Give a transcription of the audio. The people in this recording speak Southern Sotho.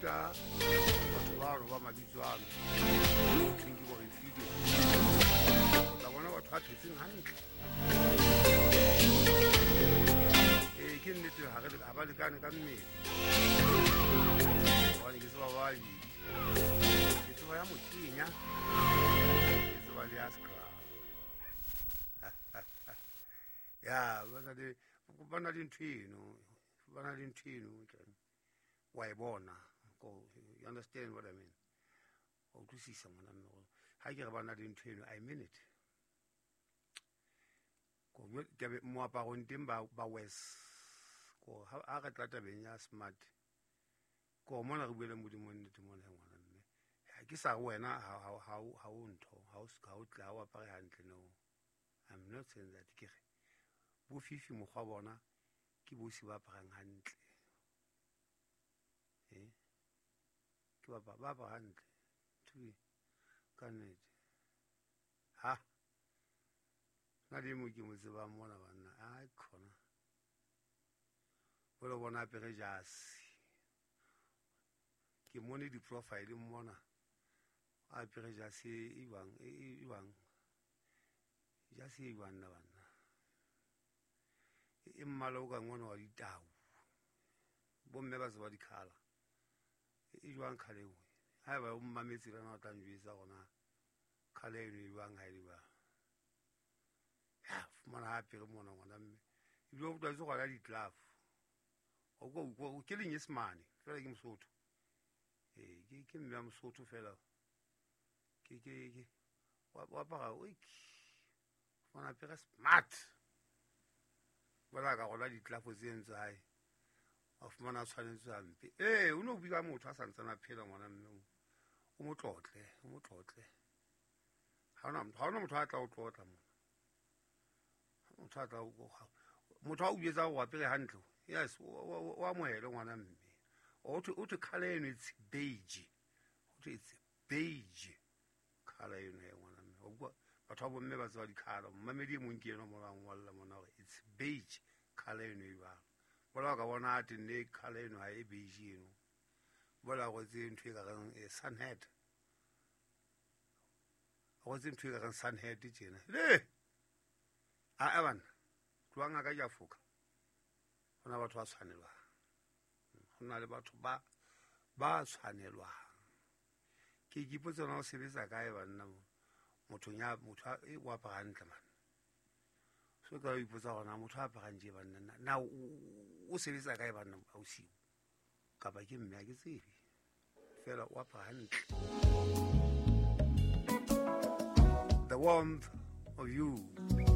Ruta batho bano ba mabitso ano thweng ke bo Refilwe, o tla bona batho ba phetseng hantle. Ee, ke nnete, ha ba lekane ka mmele, gobane ke tseba ba babedi, ke tseba ya mokenya, ke tseba le ya scrub ya ba na le ntho eno, ba na le ntho eno wa e bona. You understand what I mean? Wa utlwisisa, ngwana mme, gore ha ke re ba na le ntho eno, I mean it. Moaparong teng ba wes ko ha re tla tabeng ya smart, ko mona re buele Modimo nnete mona, ngwana mme. Ha ke sa re wena ha o ntho, ha o tle, ha o apare hantle. No, I'm not saying that. Ke re bo Fifi, mokgwa bona ke bosi ba aparang hantle, ke ba apara hantle ka nnete. Ha na le mo ke mo tsebang mona, banna, a khona bole bona apere jase, ke mone di-profile mona, a apere jase e jwang, e jwang jase e jwang na banna, e mmala o kang ona wa ditau, bomme ba tseba di-colour, e jwang colour eo? Ha eba o mmametse le wena, o tla njwetsa gona colour eno e jwang. Ha e le jwang, ya fumana ha apere mona, ngwana mme, ebile o tlwaetse go rwala di-glove, ke Lenyesemane fela, ke Mosotho. Ee, ke mme ya Mosotho fela, ke wa apara, fumana apere smart, bola ka rwala di-glove tseno tsa hae, wa fumana a tshwanetse hampe. Ee, o no bua motho a santsane a phela, ngwana mme, o mo tlotle, o mo tlotle. Ha hona motho a tla o tlotla mona, motho a tla motho a o jwetsa o apere hantle. Yes, o amohele, ngwana mme. O thwe colour eno, it's beige, ho thwe it's beige colour eno ya ngwana mme. Batho ba bomme ba tseba di-colour. Mmamedi e mong ke ena mona, ngwalla mona hore it's beige colour eno e jwalo. Bola ka bona a tenne colour eno ha e beige eno, bola rwetse ntho e ka reng sunhat, rwetse ntho e ka reng sunhat tjena le a banna tloang ka ja foka. Ho na batho ba tshwanelwang, ho na le batho ba tshwanelwang. Ke ipotsa na o sebetsa kae, banna, mothong ya motho e o apara hantle man. So ka ipotsa gona motho a aparang tje, banna, na o sebetsa kae, banna, ausiu kapa ke mme, ha ke tsebe, fela o apara hantle. The Warmth of You.